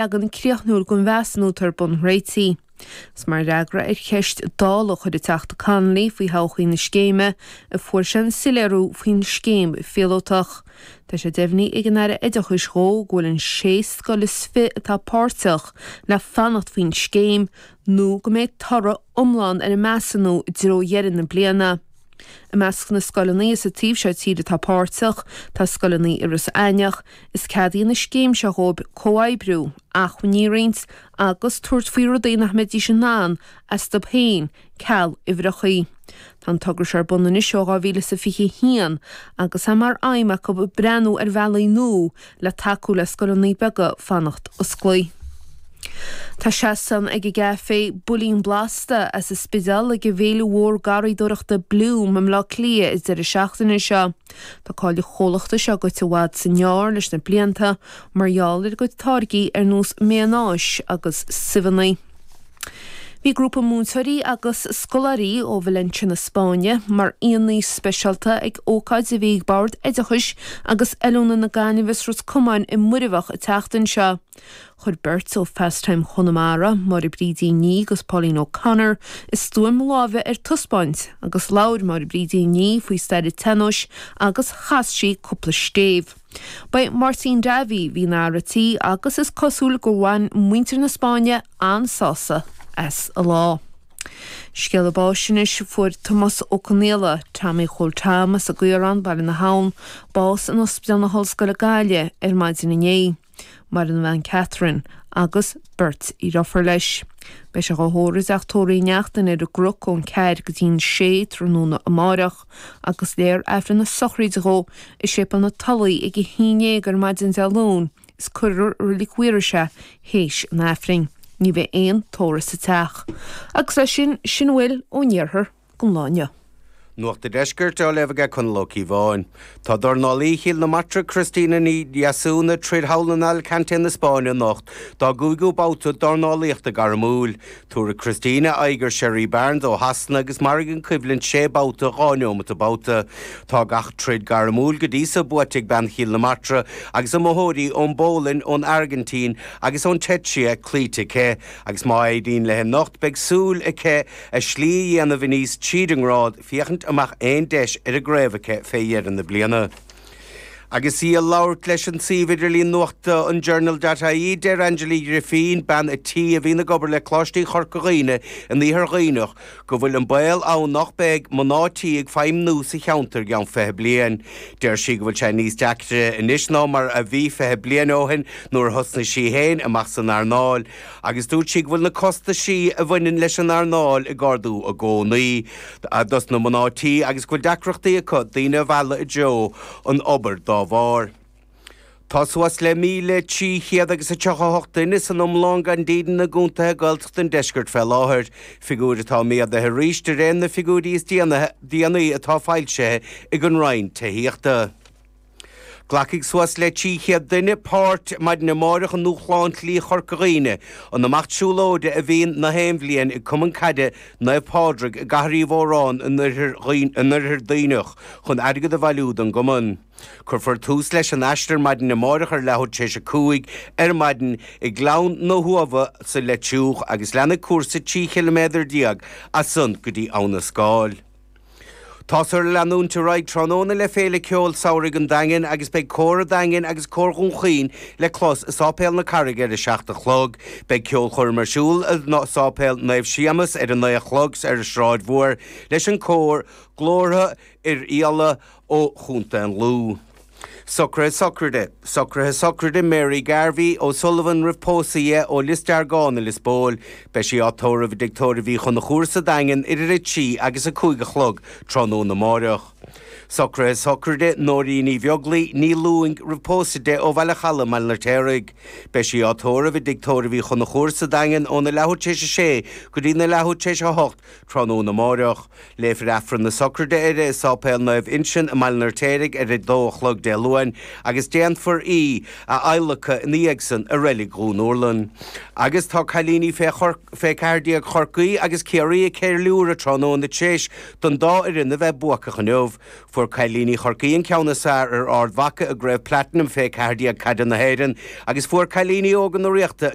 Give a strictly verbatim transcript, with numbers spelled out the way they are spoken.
Leagan críochnúil den mheasúnú atá ar bun réitithe. Is mar fhreagra ar cheist Dála a chuir an Teachta Connolly faoi thodhchaí na scéime a fuair sé an soiléiriú faoin scéim phíolótach. Tá sé deimhnithe ag an Aire Oideachais dhó go bhfuil an sé scoil is fiche atá páirteach le fanacht faoin scéim nó go mbeidh toradh iomlán ar an measúnú i dtreo dheireadh na bliana. I measc na scoileanna sa taobh seo tíre atá páirteach, tá scoileanna i Iorras Aithneach, is ceadaíonn an scéim seo dhóibh comhoibriú, acmhainní a roinnt agus tabhairt faoi rudaí nach mbeidís in ann astu féin, ceal uimhreachaí. Tá an togra seo ar bun anois ó dhá mhíle is a fiche a haon agus é mar aidhm acu breathnú ar bhealaí nua le tacú le scoileanna beaga fanacht osclaí. Tá seastán ag an gcaifé Builín Blasta as an Spidéal ag an bhféile mhór garraíodóireachta Bloom i mBleá Cliath an deireadh seachtaine seo. Tá cáil an chomhlachta seo goite i bhfad is i ngearr leis na blianta mar gheall ar a gcuid táirgí ar nós maonáis agus subhanna. Bhí grúpa múinteoirí agus scoláirí ó Valencia na Spáinne mar aíonna speisialta ag ócáid a bhí ag Bord Oideachais agus Oiliúna na Gaillimhe is Ros Comáin i Muirbheach an tseachtain seo. Chuir beirt ó Fastime Chonamara, Máire Brídín Ní agus Pauline O'Connor, a stuaim láimhe ar taispeáint agus labhair Máire Brídín Ní faoi stair an tsean-nóis agus chas sí cúpla stéibh. Ba é Máirtín Davy a bhí ina fhear an tí agus is cosúil gur bhain muintir na Spáinne an-sásamh as an lá. Scéala báis anois, Fuair Tomás Ó Conaola, Tommy Chóil Tom as an gCaorán, Baile na hAbhann, bás in Ospidéal na hOllscoile Gaillimh ar maidin inné. Maireann a bhean Catherine agus beirt dheirfiúr leis. Beidh sé dhá thórramh i dteach tórraimh Uí Neachtain ar an gCnoc ón ceathair go dtí'n sé tráthnóna amáireach agus léifear Aifreann na sochraide dhó i Séipéal na Tulaí ag a haon déag ar maidin Dé Luain is cuirfear i Reilig Mhaorais é théis an Aifrinn. Ní bheidh aon tórramh sa teach. Agus leis sin, sin a bhfuil ón iarthar don lá inniu. Nuacht an Deiscirt á léamh aige Conall Ó Cíobháin. Tá dornálaí Chill na Martra Christina Ní Dheasún ag troid thall in Alicante na Spáinne anocht dá gcúigiú babhta dornálaíochta gairmiúil. Tabharfaidh Christina aghaidh ar Sherry Barnes ó Shasana agus mairfidh an choimhlint sé babhta dhá neomat an babhta. Tá gach troid gairmiúil go dtí so buaite ag bean Chill na Martra agus iomaitheoirí ón bPólainn, ón Airgintín agus ón tSeicia cloíte aici agus má éiríonn léi anocht beidh súil aici a slí a dhéanamh aníos tríd an ngrád féachaint an mbeadh aon deis ar an gcraobh aici fé dheireadh na bliana. Agus í ag labhairt leis an suíomh idirlín nuachta an Journal dot ie, deir Angela Uí Ghrifín, bean a tí a bhíonn ag obair le Coláistí Chorca Dhuibhne in Iarthar Dhuibhneach, go bhfuil an baol ann nach mbeidh mná tí ag feidhmniú sa cheantar i gceann fiche bliain. Deir sí go bhfuil sé níos deacra anois ná mar a bhí fiche bliain ó shin nuair a thosnaigh sí féin amach san earnáil agus dúirt sí go bhfuil na costaisí a bhaineann leis an earnáil ag ardú i gcónaí dos na mná tí agus go bhfuil deacrachtaí acu daoine a mhealladh i dtreo an obair dá bharr. Tá suas le míle trí chéad agus a tríocha a hocht duine san iomlán gan dídean i gcontaetha Gaeltachta an deiscirt fé láthair, figiúir atá méadaithe arís de réir na figiúirí is déanaí atá foilsithe ag an Roinn Tithíochta. Glacfaidh suas le trí chéad duine páirt maidin amáireach i nDúshlán Shlí Chorca Dhuibhne, an imeacht siúlóide a bhíonn na haon bhliain ag Cumann Caide Naomh Pádraig i gCathair Uí Mhóráin in Oirthear Duibhneach chun airgead a bhailiú don gcumann. Cuirfear tús leis an aistear maidin amáireach ar leathuair tar éis a cúig ar maidin i nGleann na hUamha sa Leitriúch agus leanfaidh cúrsa trí chiliméadar déag as san go dtí Abha na Scáil. Táthar ag leanúint ar aghaidh tráthnóna le Féile Ceoil Samhraidh an Daingin agus beidh Cór an Daingin agus Cór Dhún Chaoin le clos i Sáipéal na Carraige ar a seacht a chlog. Beidh ceolchoirm ar siúl i Sáipéal Naomh Séamus ar a naoi a chlog ar an Sráid Mhór leis an cór Glórtha Oirialla ó Chontae an Lú. Socruithe Sochraide, Socruithe Sochraide Mary Garvey O'Sullivan roimh pósadh di ó Lios Deargáin i Lios Póil. Beidh sí á tórramh i dTigh Tórraimh Uí Chonchúir sa Daingean idir a trí agus a cúig a chlog tráthnóna amáireach. Socruithe Sochraide Nóirín Ní Bheaglaoi, Ní Lúing roimh pósadh di ó Bhaile Chalaidh i mBaile an Fheirtéaraigh. Beidh sí á tórramh i dTigh Tórraimh Uí Chonchúir sa Daingean óna leathuair tar éis a sé go dtí na leathuair tar éis a hocht tráthnóna amáireach. Léifear Aifreann na Sochraide uirthi i Sáipéal Naomh Uinseann i mBaile an Fheirtéaraigh ar a dó a chlog Dé Luain. Luain agus déanfar í a adhlacadh ina dhiaidh san i Reilig Dhún Úrlann. Agus tá cailíní fé fé ceathair déag Chorcaí agus Ciarraí ag ceiliúradh tráthnóna tar éis don dá fhoireann a bheith buacach inniu. Fuair cailíní Chorcaí an ceann is fearr ar Ard Mhacha i gCraobh Platinum fé ceathair déag Caide na hÉireann agus fuair cailíní óga na Ríochta